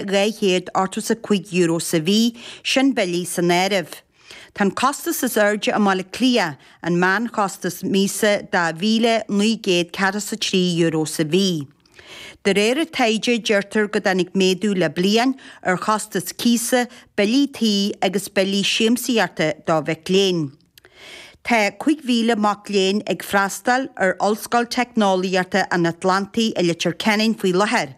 €285 sa mhí, sin billí san áireamh. Tá an costas is airde i mBaile Átha Cliath, an meánchostas míosa de €1,943 sa mhí. De réir an taighde, deirtear go dtáinig méadú le bliain ar chostas cíosa, billí tí agus billí siamsaíochta do mhic léinn. Tá 5,000 mac léinn ag freastal ar Ollscoil Teicneolaíochta an Atlantaigh i Leitir Ceanainn faoi láthair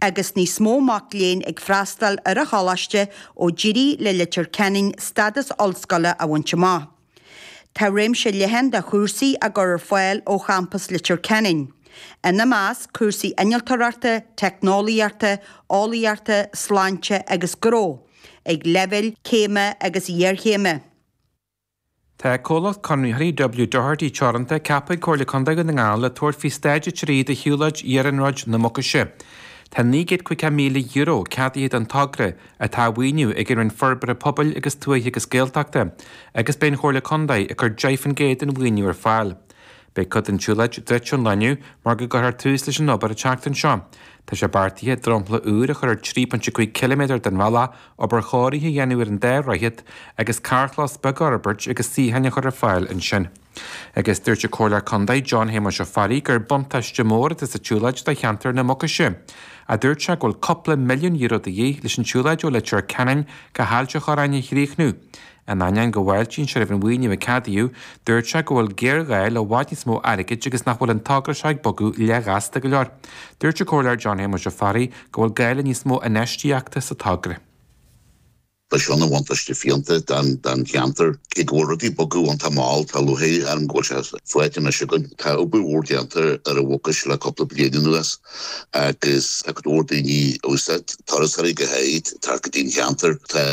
agus níos mó mac léinn ag freastal ar an choláiste ó d'éirigh le Leitir Ceanainn stádas ollscoile a bhaint amach. Tá réimse leathan de chúrsaí á gcur ar fáil ó champas Leitir Ceanainn. Ina measc, cúrsaí innealtóireachta, teicneolaíochta, eolaíochta, sláinte agus gnó ag leibhéil céime agus iarchéime. Tá comhlacht conraitheoirí W Doherty Teoranta ceaptha ag Comhairle Contae Dhún na nGall le tabhairt faoi Staid 3 de shiúlóid iarnróid na Mucaise. Tá €950,000 ceadaithe don togra, atá á mhaoiniú ag an Roinn Forbartha Pobail agus Tuaithe agus Gaeltachta, agus beidh an Chomhairle Contae ag cur 10% den mhaoiniú ar fáil. Beidh cuid den tsiúlóid druidte ón lá inniu mar go gcuirfear tús leis an obair an tseachtain seo. Tá sé beartaithe dromchla úr a chur ar 3.5 ciliméadar den bhealach, obair chóirithe a dhéanamh ar an dá dhroichead agus carrchlós beag a fhorbairt agus suíocháin a chur ar fáil ansin. Agus dúirt an Comhairleoir Contae John Shéamuis Ó Fearraigh gur buntáiste mór atá sa tsiúlóid do cheantar na Mucaise. Ach dúirt sé go bhfuil cúpla milliún euro de dhíth leis an tsiúlóid ó Leitir Ceanainn go hAilt an Chorráin a chríochnú. In ainneoin go bhfáiltíonn sé roimh an mhaoiniú a ceadaíodh, dúirt sé go bhfuil géarghá le i bhfad níos mó airgid agus nach bhfuil an togra seo ag bogadh leathghasta go leor. Dúirt an Comhairleoir John Shéamuis Ó Fearraigh go bhfuil gá le níos mó infheistíochta sa togra. Tá seo ina bhuntáiste fiúntach don cheantar. Cé go bhfuil rudaí ag bogadh iontach mall, tá lúcháir orm go bhfuil sé faighte anois againn. Tá obair mhór déanta ar an Mhucais le cúpla bliain anuas agus tá cuid mhór daoine ag úsáid, turasóirí go háirid, ag teacht go dtí an cheantar. Tá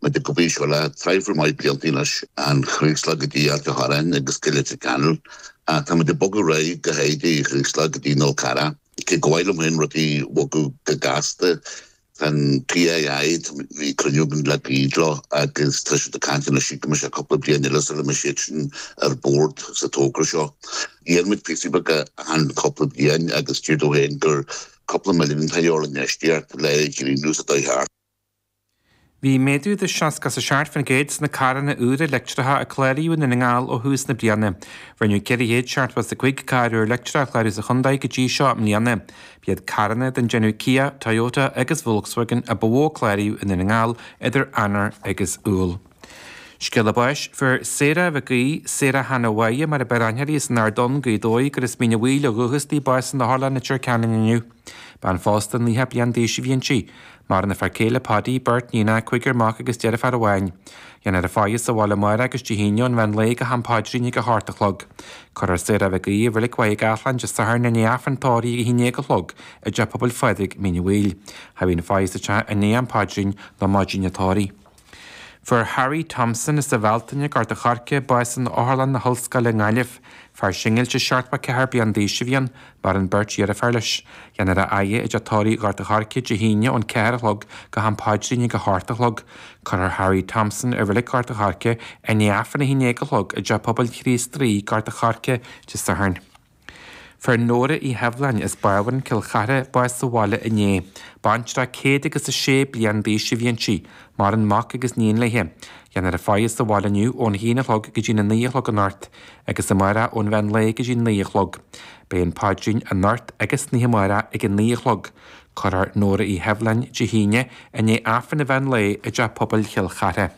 muid ag obair anseo le traidhfil maith blianta anois, an Chraoslaigh go dtí Ailt an Chorráin agus go Leitir Ceanainn. Tá muid ag bogadh ar aghaidh go háirid an Chraoslaigh go dtí an Fhál Carrach. Cé gur mhaith liom féin rudaí a bhogadh go gasta, tá an TII, bhí cruinniú againn le gairid leo agus tá siad ag caint anois go mbeidh sé cúpla bliain eile sula mbeidh siad sin ar bord sa togra seo. Dhéan muid píosaí beaga achan cúpla bliain agus deir domh féin gur cúpla milliún atá de dhíobháil infheistíocht le críochnú sa dóigh cheart. Bhí méadú de 67% sna carranna úra leictreacha a cláraíodh i nDún na nGall ó thús na bliana. Rinneadh 475 carr úr leictreach a chlárú sa chontae go dtí seo i mbliana. B'iad carranna den déanamh Kia, Toyota agus Volkswagen a ba mhó a cláraíodh i nDún na nGall idir Eanáir agus Iúil. Scéala báis, Fuair Sarah Mhic Aoidh, Sarah Hannah Mháire mar a b'fhearr aithne uirthi as an Ard Donn, Gaoth Dobhair, gur as Mín an Bhaoill ó dhúchas di, bás san Otharlann Leitir Ceanainn inniu. Bean phósta 90 bliain d'aois a bhí inti. Maireann a fear céile Paddy, beirt níonacha, cúigear mac agus deirfiúr amháin. Déanfar a faire sa bhaile amárach agus Dé hAoine ón mheán lae go ham paidrín ag a hocht a chlog. Cuirfear Sarah Mhic Aoidh i Reilig Mhaigh gCathláin Dé Sathairn i ndiaidh Aifreann tórraimh ag a haon déag a chlog i dTeach Pobail Phádraig, Mín an Bhaoill. Cha bhíonn faire sa teach i ndiaidh am paidrín nó maidin an tórraimh. Fuair Harry Thompson as an Bhealtaine, Gort a' Choirce, bás in Otharlann na hOllscoile i nGaillimh. Fear singilte 74 bliain d'aois a bhí ann. Maireann beirt dheirféar leis. Déanfar a fhaire i dteach tórraimh Ghort a' Choirce Dé hAoine ón 4 a chlog go ham paidrín ag a hocht a chlog. Cuirfear Harry Thompson i Reilig Ghort a' Choirce i ndiaidh Aifreann a haon déag a chlog i dTeach Pobail Chríost Rí, Gort a' Choirce, Dé Sathairn. Fuair Nóra Uí Sheibhleáin as Bábhún, Cill Chartha, bás sa bhaile inné. Baintreach 106 bliain d'aois a bhí inti. Maireann mac agus níon léi. Déanfar a faire sa bhaile inniu ón haon a chlog go dtí'n 9 a chlog anocht agus amárach ón mheán lae go dtí'n 9 a chlog. Beidh an paidrín anocht agus san oíche amárach ag a 9 a chlog. Cuirfear Nóra Uí Sheibhleáin Dé hAoine i ndiaidh Aifreann an mheán lae i dTeach Pobail Chill Chartha.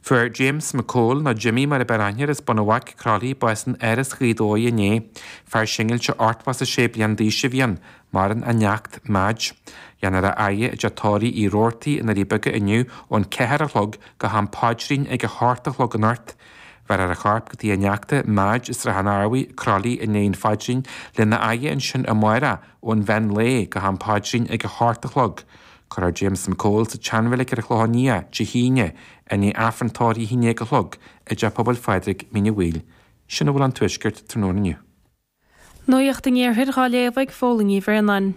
Fuair James McCole, nó Jimmy mar a b'fhearr aithne air, as Bun an Bhaic, Crolly, bás in Áras Ghaoth Dobhair inné. Fear singilte 86 bliain d'aois a bhí ann. Maireann a neacht, Madge. Déanfar a fhaire i dteach tórraimh Uí Robhartaigh i nDoirí Beaga inniu ón 4 a chlog go ham paidrín ag a hocht a chlog anocht. Bheirfear a chorp go tigh a neachta, Madge, i Srath an Arbhaigh, Crolly, i ndiaidh an phaidrín, lena fhaire ansin amárach ón mheán lae go ham paidrín ag a hocht a chlog. Cuirfear James McCole sa tseanreilig ar an Chlochán Liath Dé hAoine i ndiaidh Aifreann tórraimh a haon déag a chlog i dTeach Pobail Phádraig, Mín an Bhaoill. Sin a bhfuil ón Tuaisceart tráthnóna inniu. Nuacht an Iarthair dhá léamh ag Fódhla Ní Bhraonáin.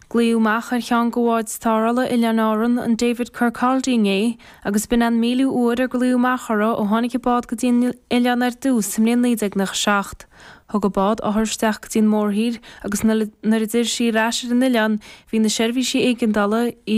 Glaodh amach ar cheann de bháid tarrthála Oileáin Árann, an David Kirkcaldy inné agus b'in an míliú uair ar glaodh amach orthu ó tháinig an bád go dtí an oileán ar dtús sa mbliain 1997. Thug an bád othair isteach go dtí an mórthír agus nuair a d'fhill sí ar ais ar an oileán bhí na seirbhísí éigeandála, iar.